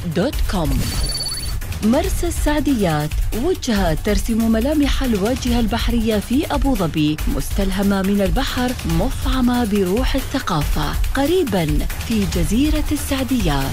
www.مرساsaadiyat.com. مرسى السعديات، وجهة ترسم ملامح الواجهة البحرية في أبو ظبي، مستلهمة من البحر، مفعمة بروح الثقافة، قريباً في جزيرة السعديات.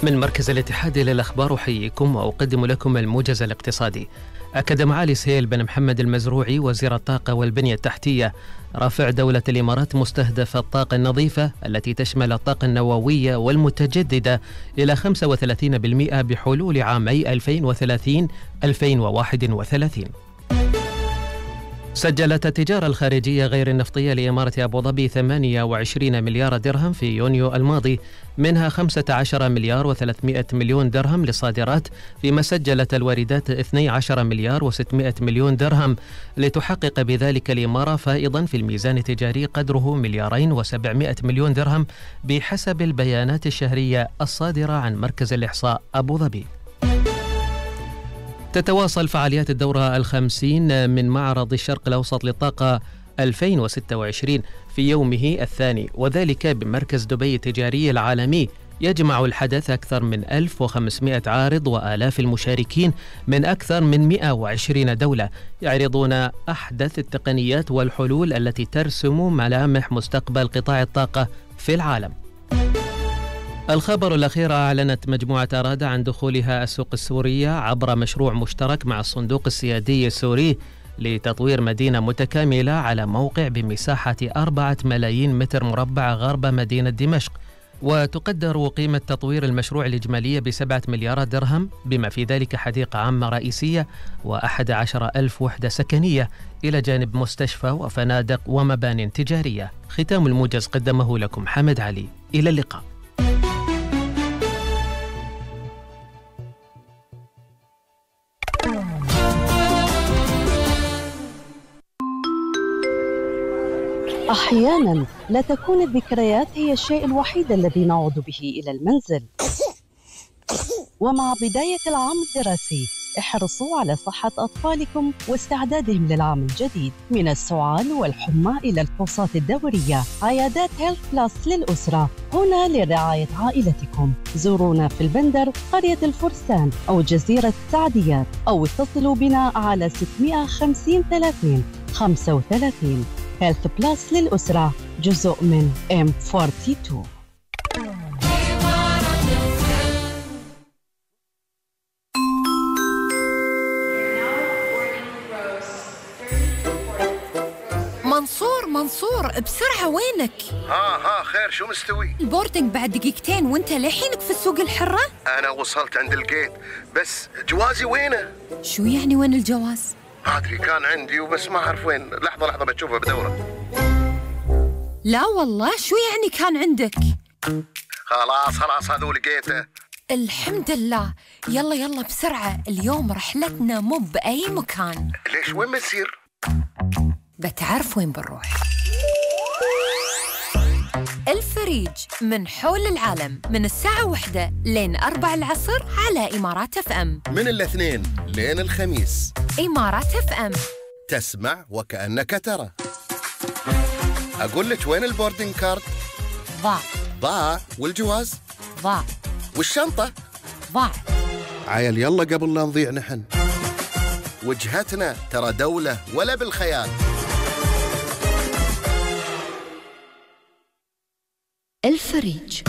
من مركز الاتحاد للأخبار أحييكم وأقدم لكم الموجز الاقتصادي. أكد معالي سهيل بن محمد المزروعي وزير الطاقة والبنية التحتية رفع دولة الإمارات مستهدف الطاقة النظيفة التي تشمل الطاقة النووية والمتجددة إلى 35% بحلول عامي 2030-2031. سجلت التجارة الخارجية غير النفطية لإمارة أبو ظبي 28 مليار درهم في يونيو الماضي، منها 15 مليار و300 مليون درهم للصادرات، فيما سجلت الواردات 12 مليار و600 مليون درهم، لتحقق بذلك الإمارة فائضا في الميزان التجاري قدره 2.7 مليار درهم بحسب البيانات الشهرية الصادرة عن مركز الإحصاء أبو ظبي. تتواصل فعاليات الدورة 50 من معرض الشرق الأوسط للطاقة 2026 في يومه الثاني، وذلك بمركز دبي التجاري العالمي. يجمع الحدث أكثر من 1500 عارض وآلاف المشاركين من أكثر من 120 دولة، يعرضون أحدث التقنيات والحلول التي ترسم ملامح مستقبل قطاع الطاقة في العالم. الخبر الأخير: أعلنت مجموعة أرادة عن دخولها السوق السورية عبر مشروع مشترك مع الصندوق السيادي السوري لتطوير مدينة متكاملة على موقع بمساحة 4 ملايين متر مربع غرب مدينة دمشق، وتقدر قيمة تطوير المشروع الإجمالية ب7 مليارات درهم، بما في ذلك حديقة عامة رئيسية و11,000 وحدة سكنية، إلى جانب مستشفى وفنادق ومبان تجارية. ختام الموجز قدمه لكم حمد علي. إلى اللقاء. أحياناً لا تكون الذكريات هي الشيء الوحيد الذي نعود به إلى المنزل. ومع بداية العام الدراسي احرصوا على صحة أطفالكم واستعدادهم للعام الجديد. من السعال والحمى إلى الفحوصات الدورية، عيادات هيلث بلس للأسرة هنا لرعاية عائلتكم. زورونا في البندر، قرية الفرسان أو جزيرة السعديات، أو اتصلوا بنا على 650 30 35. هيلث بلس للأسرة، جزء من M42. منصور بسرعة، وينك؟ ها خير، شو مستوي؟ البوردنج بعد دقيقتين وانت لحينك في السوق الحرة؟ أنا وصلت عند الجيت، بس جوازي وينه؟ شو يعني وين الجواز؟ أدري كان عندي وبس ما أعرف وين. لحظة بتشوفه بدورة. لا والله، شو يعني كان عندك؟ خلاص هذا لقيته. الحمد لله. يلا بسرعة، اليوم رحلتنا مو بأي مكان. ليش؟ وين بنسير؟ بتعرف وين بنروح؟ الفريج من حول العالم، من الساعة 1 لين 4 العصر على إمارات FM. من الاثنين لين الخميس. إمارات FM، تسمع وكأنك ترى. أقول لك وين البوردنج كارد؟ ضاع. والجواز؟ ضاع. والشنطة؟ ضاع. عيل يلا قبل لا نضيع نحن. وجهتنا ترى دولة ولا بالخيال. الفريج.